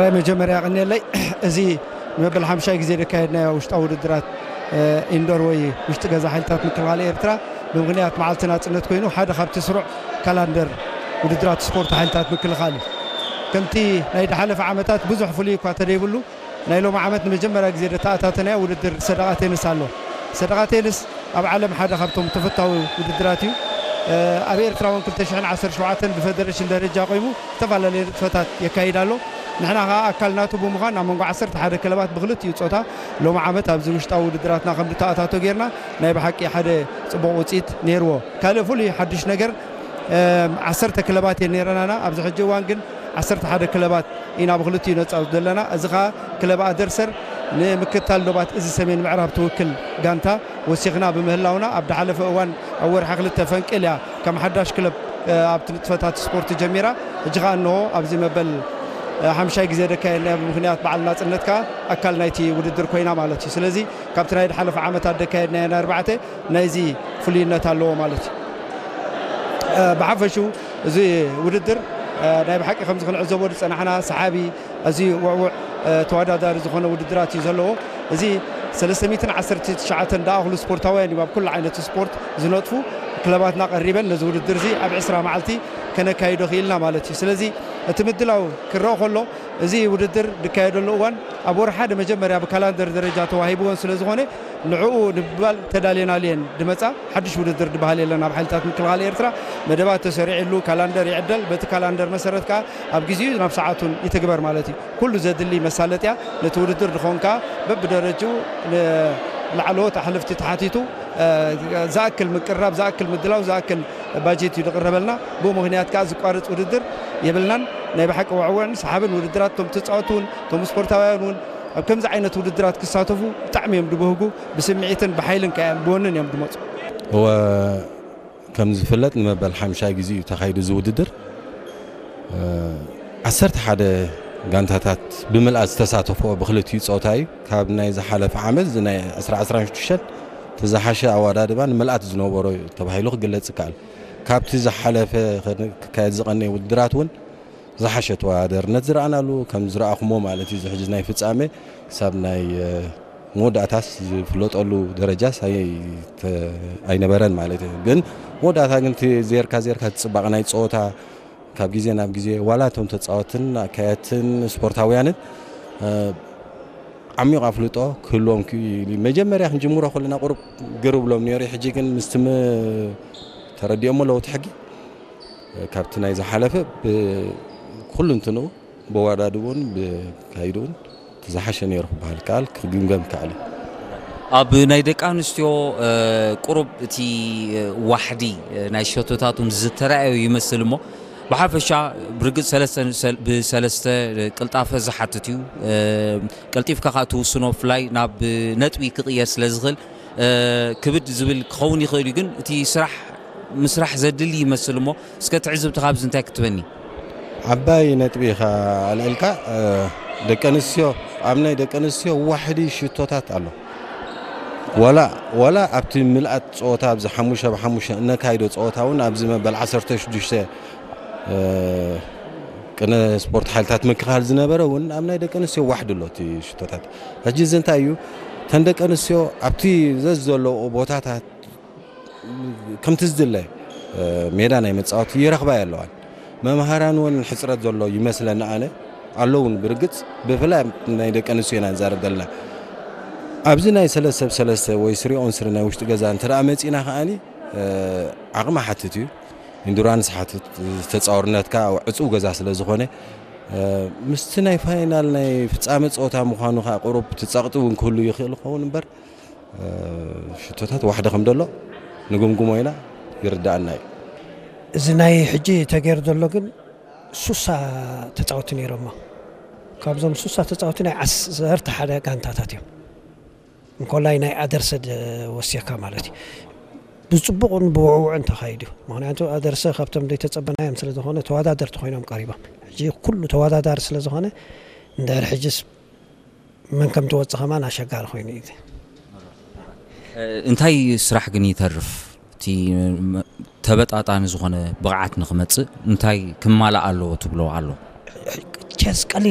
ራይ መጀመርያ ቀኒለይ እዚ ንመበል ሓምሻይ ግዜ ዘካየድናዮ ውሽጣዊ ውድድራት ኢንዶር ወይ ውሽጢ ገዛ ሓይልታት ምክልኻል ኤርትራ ብምኽንያት መዓልቲ ናጽነት ኮይኑ ሓደ ካብቲ ስሩዕ ካላንደር ውድድራት ስፖርት ሓይልታት ምክልኻል እዩ። ከምቲ ናይ ዝሓለፈ ዓመታት ብዙሕ ፍሉይ እኳ ተደይብሉ ናይ ሎም ዓመት ንመጀመርያ ግዜ ዘተኣታተናዮ ውድድር ሰደቓ ቴንስ ኣሎ። ሰደቓ ቴንስ ኣብ ዓለም ሓደ ካብቶም ተፈታዊ ውድድራት እዩ። ኣብ ኤርትራ እውን ክልተ ሽሕን ዓሰርተ ሸውዓተን ብፈደረሽን ደረጃ ቆይሙ ዝተፈላለየ ንጥፈታት የካይድ ኣሎ። ንሕና ከዓ ኣካል ናቱ ብምዃን ኣብ መንጎ ዓሰርተ ሓደ ክለባት ብክልቲኡ ጾታ ሎም ዓመት ኣብዚ ውሽጣዊ ውድድራትና ከም ዝተኣታቶ ጌርና ናይ ብሓቂ ሓደ ጽቡቕ ውፅኢት ነይርዎ። ካልእ ፍሉይ ሓድሽ ነገር ዓሰርተ ክለባት እየን ነይረናና። ኣብዚ ሕጂ እዋን ግን ዓሰርተ ሓደ ክለባት ኢና ብክልቲኡ ነፃ ዘለና። እዚ ከዓ ክለብ ኣደርሰር ንምክታል ዶባት እዚ ሰሜን ምዕራብ ትውክል ጋንታ ወሲኽና ብምህላውና ኣብ ዝሓለፈ እዋን ኣብ ወርሒ ክልተ ፈንቅል እያ ከም ሓዳሽ ክለብ ኣብቲ ንጥፈታት ስፖርት ጀሚራ። ሕጂ ከዓ እንሆ ኣብዚ መበል ሓምሻይ ግዜ ዘካየድናያ ብምክንያት በዓል ናፅነት ከዓ ኣካል ናይቲ ውድድር ኮይና ማለት እዩ። ስለዚ ካብቲ ናይ ዝሓለፈ ዓመታት ዘካየድናዮ ናይ ኣርባዕተ ናይዚ ፍሉይነት ኣለዎ ማለት እዩ። ብሓፈሽኡ እዚ ውድድር ናይ ብሓቂ ከምዚ ክንዕዘቦ ዝፀናሕና ሰሓቢ ኣዝዩ ውዕውዕ ተወዳዳሪ ዝኾነ ውድድራት እዩ ዘለዎ። እዚ ሰለስተ ሚእትን ዓሰርተ ትሽዓተን ዝኣኽሉ ስፖርታውያን እዮም ኣብ ኩሉ ዓይነት ስፖርት ዝነጥፉ። ክለባትና ቀሪበን ነዚ ውድድር እዚ ኣብ ዕስራ መዓልቲ ከነካይዶ ክኢልና ማለት እዩ። ስለዚ እቲ ምድላው ክረአ ከሎ እዚ ውድድር ዝካየደሉ እዋን ኣብ ወርሒ ሓደ መጀመርያ ብካላንደር ደረጃ ተዋሂብወን ስለ ዝኾነ ንዕኡ ንምባል ተዳልየናሉ እየን ዝመፃ። ሓድሽ ውድድር ዝበሃል የለን ኣብ ሓይልታት ምክልኻል ኤርትራ። መደባት ተሰሪዕሉ ካላንደር ይዕደል። በቲ ካላንደር መሰረት ከዓ ኣብ ግዜኡ ናብ ሰዓቱን ይትግበር ማለት እዩ። ኩሉ ዘድሊ መሳለጥያ ነቲ ውድድር ዝኸውን ከዓ በብደረጅኡ ንላዕለዎት ኣሕልፍቲ ተሓቲቱ ዝኣክል ምቅራብ ዝኣክል ምድላው ዝኣክል ባጀት እዩ ዝቕረበልና። ብኡ ምኽንያት ከዓ ዝቋርፅ ውድድር የብልናን። ናይ ብሓቂ ውዕውዕን ሰሓብን ውድድራት እቶም ተፃወቱ እውን እቶም ስፖርታውያን እውን ኣብ ከምዚ ዓይነት ውድድራት ክሳተፉ ብጣዕሚ እዮም ድበህጉ። ብስምዒትን ብሓይልን ከ ብወንን እዮም ድመፁ። እወ፣ ከም ዝፍለጥ ንመበል ሓምሻይ ግዜ እዩ ተኻይዱ እዚ ውድድር። ዓሰርተ ሓደ ጋንታታት ብምልኣት ዝተሳተፍኦ ብክልቲኡ ፆታ እዩ። ካብ ናይ ዝሓለፈ ዓመት እዚ ናይ ዕስራ ዕስራን ሽዱሽተን እቲ ዝሓሸ ኣወዳድባ ንምልኣት ዝነበሮ እዩ ተባሂሉ ክግለጽ ይከኣል። ካብቲ ዝሓለፈ ክካየድ ዝቐነየ ውድድራት እውን ዝሓሸ ተወዳዳርነት ዝረኣናሉ ከም ዝረኣኹሞ ማለት እዩ። እዚ ሕጂ ናይ ፍጻሜ ክሳብ ናይ መወዳእታስ ዝፍለጠሉ ደረጃስ ኣይነበረን ማለት እዩ። ግን መወዳእታ ግን እቲ ዜርካ ዜርካ እቲ ጽባቐ ናይ ጸወታ ካብ ግዜ ናብ ግዜ ዋላ እቶም ተጻወትን ኣካየድትን ስፖርታውያንን ዓሚቕ ኣፍልጦ ክህልዎም ክኢሉ። መጀመርያ ክንጅምሮ ከለና ቁሩብ ግር ብሎም ነይሩ። ሕጂ ግን ምስቲ ተረዲኦሞ ለውጢ ሕጊ ካብቲ ናይ ዝሓለፈ ብኩሉ እንትንኡ ብወዳድብኡን ብካይድኡን እቲ ዝሓሸ ነይሩ ክበሃል ይከኣል፣ ክግምገም ይከኣል እዩ። ኣብ ናይ ደቂ ኣንስትዮ ቁሩብ እቲ ዋሕዲ ናይ ሸቶታት እውን ዝተረኣየ ይመስል እሞ ብሓፈሻ ብርግፅ ሰለስተ ብሰለስተ ቅልጣፈ ዝሓትት እዩ። ቀልጢፍካ ከዓ ትውስኖ ብፍላይ ናብ ነጥቢ ክቕየር ስለ ዝኽእል ክብድ ዝብል ክኸውን ይኽእል እዩ። ግን እቲ ስራሕ ምስራሕ ዘድሊ ይመስል እሞ እስከ ትዕዝብትኻ ኣብዚ እንታይ ክትበኒ? ዓባይ ነጥቢ ኢኻ ኣልዒልካ። ደቂ ኣንስትዮ ኣብ ናይ ደቂ ኣንስትዮ ዋሕዲ ሽቶታት ኣሎ። ዋላ ዋላ ኣብቲ ምልኣት ፀወታ ኣብዚ ሓሙሽተ ብሓሙሽተ እነካይዶ ፀወታ እውን ኣብዚ መበል ዓሰርተ ሽዱሽተ ቅነ ስፖርት ሓይልታት ምክልኻል ዝነበረ እውን ኣብ ናይ ደቂ ኣንስትዮ ዋሕዲ ኣሎ እቲ ሽቶታት። ሕጂ እዚ እንታይ እዩ? እተን ደቂ ኣንስትዮ ኣብቲ ዘዝ ዘለኦ ቦታታት ከምቲ ዝድለ ሜዳ ናይ መፃወቲ ይረኽባ ኣለዋን። መምሃራን እውን ሕፅረት ዘሎ ይመስለኒ ኣነ ኣለውን ብርግፅ ብፍላይ ናይ ደቂ ኣንስትዮ ኢና ንዛረብ ዘለና። ኣብዚ ናይ ሰለስተ ብ ሰለስተ ወይ ስሪ ኦን ስሪ ናይ ውሽጢ ገዛ እንተ ደኣ መፂና ከኣኒ ዓቕሚ ሓትት እዩ። ኢንዱራንስ ሓትት ተፃውርነትካ ዕፁው ገዛ ስለ ዝኾነ ምስቲ ናይ ፋይናል ናይ ፍፃመ ፀወታ ምዃኑ ከዓ ቁሩብ እቲ ፀቕጢ እውን ክህሉ ይኽእል ይኸውን እምበር ሽቶታት ዋሕደ ከም ዘሎ ንግምግሞ ኢና ይርዳኣና እዩ። እዚ ናይ ሕጂ ተገይሩ ዘሎ ግን ሱሳ ተፃወቲ ነይሮሞ። ካብዞም ሱሳ ተፃወቲ ናይ ዓሰርተ ሓደ ጋንታታት እዮም። እንኮላይ ናይ ኣደርሰ ወሲኽካ ማለት እዩ። ብፅቡቕን ብውዕውዕን ተኻይዱ። ምክንያቱ ኣደርሰ ካብቶም ዘይተፀበናዮም ስለ ዝኾነ ተወዳደርቲ ኮይኖም ቀሪቦም። ሕጂ ኩሉ ተወዳዳሪ ስለ ዝኾነ እንድሕር ሕጅስ መን ከም ትወፅእ ከማን ኣሸጋሪ ኮይኑ እዩ። እንታይ ስራሕ ግን ይተርፍ? እቲ ተበጣጣኒ ዝኾነ ብቕዓት ንክመፅእ እንታይ ክማላእ ኣለዎ ትብሎ ኣሎ? ቸስ ቀሊል